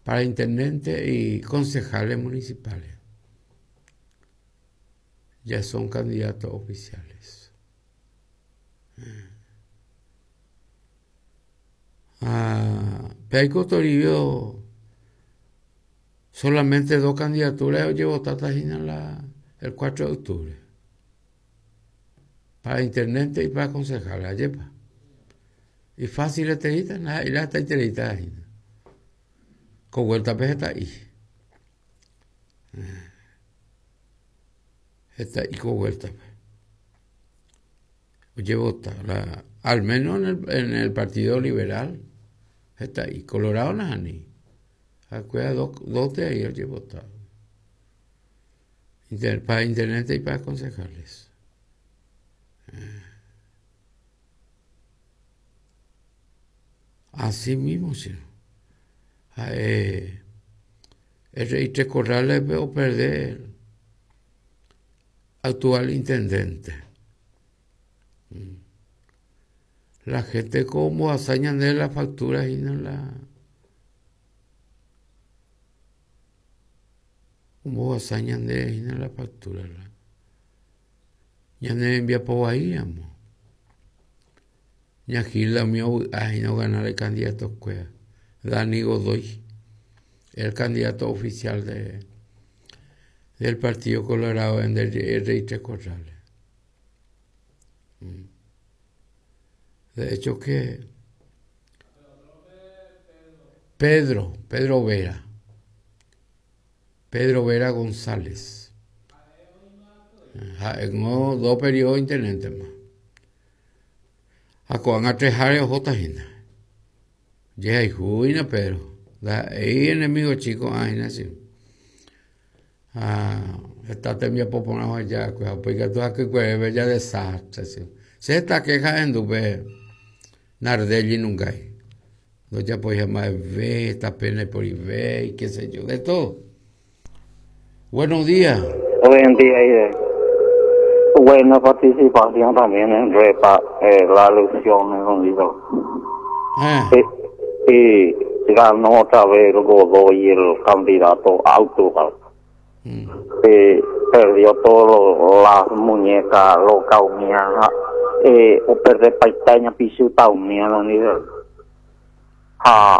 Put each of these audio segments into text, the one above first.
Para intendente y concejales municipales. Ya son candidatos oficiales. Ah, pe Toribio solamente dos candidaturas ojevotáta hína la, el 4 de octubre. Para intendente y para concejal, ajépa. Y fácil etereíta, ndaha'éi hetaitereíta hína. Ko vuelta-pe heta'i. Heta'i ko vuelta-pe. Ojevota, la, al menos en el, en el Partido Liberal, heta'i. Colorado nahániri. Ha'ekuéra dos, dos de ahí ojevota. Inter, para intendente y para concejales. Así mismo, che. Ha'e RI Tres Corrales-pe operde actual intendente. La gente ko ombohasa ñande la factura hína la ombohasa ñande hína la factura la ñane rembiapo vai ramo. Ña Gilda umi ovy'a hína oganar ikandidatokuéra. Dani Godoy, el candidato oficial de del Partido Colorado en el RI Tres Corrales. De hecho que Pedro, Pedro Vera, Pedro Vera González. Ha'éngo dos periodo intendente-ma. Ha ko'ág̃a treháre ohóta hína. Jehayhu hína Pedro. Ndaha'éi enemigo chíko ko'ã hína che. Ha heta tembiapo porã oheja va'ekue ha upéi katu hakykuerépe ja desastre che. Che heta kéja ahendu pe Nardelli nungái. Ndojapoiha mba'eve, tape ndaiporivéi, qué sé yo, de todo. Buenos días. Buen día, Ide. Buena participación también en Repa, eh, la elección en Unido. Ah. Eh, y ganó otra vez el Godoy, el candidato actual. Mm. Eh, perdió todas las muñecas locas umía, eh, o perder paitaña, pisuta umía, don Ide. Ha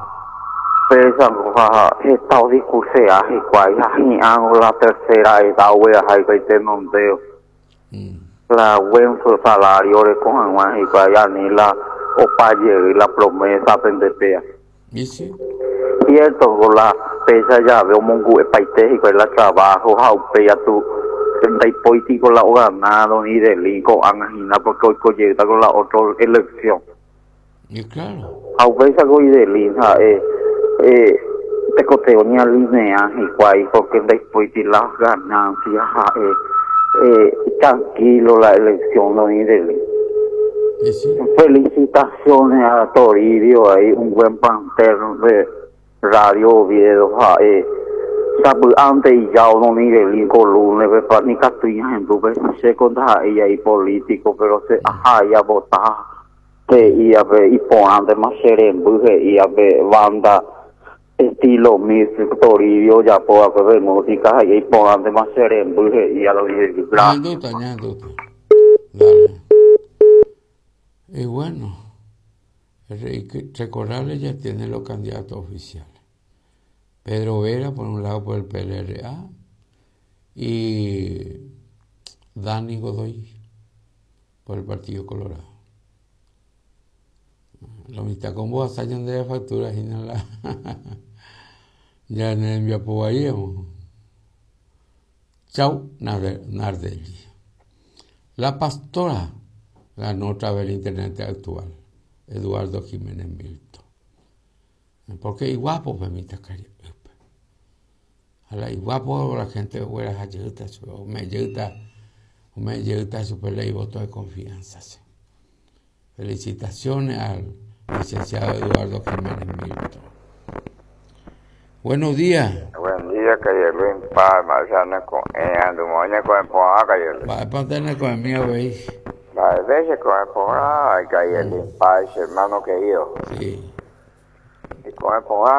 péicha ha heta odiskursea hikuái ha hi'ã la tercera edad ogueraha hikuái tenondeo. La buen salario oreko hag̃ua hikuái ani la opa jey la promesa pende péa. Cierto ko la péicha jave omongu'epaite hikuái la trabajo ha upéi atu ndaipóiti ko la ogana don Idelín ko'ág̃a hína porque oiko jeýta ko la otro elección. Y claro. Ha upéicha ko Idelín ha'e tekotevẽ oñealinea hikuái porque ndaipóiti las ganancias ha'e tranquilo la elección don Idelín. Y sí. Felicitaciones a Toribio ahí, un buen plantel de Radio Oviedo ha'e sapy'ánte ijao don Idelín ko lunes-pe pa nikatúi ñahendu pe chéko ndaha'éi jai político pero che ahai avota he'i ape iporãntema che remby he'i ape banda estilo mix Toribio ojapo va'ekue pe música he'i iporãntema che remby he'i a don Idelín. Gracias. Ñahendúta, ñahendúta. Dale. Y bueno, Recorrales ya tiene los candidatos oficiales. Pedro Vera, por un lado, por el PLRA, y Dani Godoy, por el Partido Colorado. Lo mitad con vos, de factura, y no la. ya en el enviapo Chau Nardelli. La pastora ganó otra vez el intendente actual, Eduardo Jiménez Milton. Porque iguapo pe mitãkaria'ýpe. Ha la iguapo la gente ogueraha jeýta chupe, ome'ẽ jeýta, ome'ẽ jeýta chupe la ivoto de confianza. Felicitaciones al licenciado Eduardo Jiménez Milton. Buenos días. Buen día, Calle Luis Palma, ya no ko'ẽ andumo, ñako'ẽ porã, Calle Luis. Mba'épa nde neko'ẽmi avei. Mba'eve cheko'ẽ porã, Calle Luis Paz, hermano querido. Sí. Iko'ẽ porã.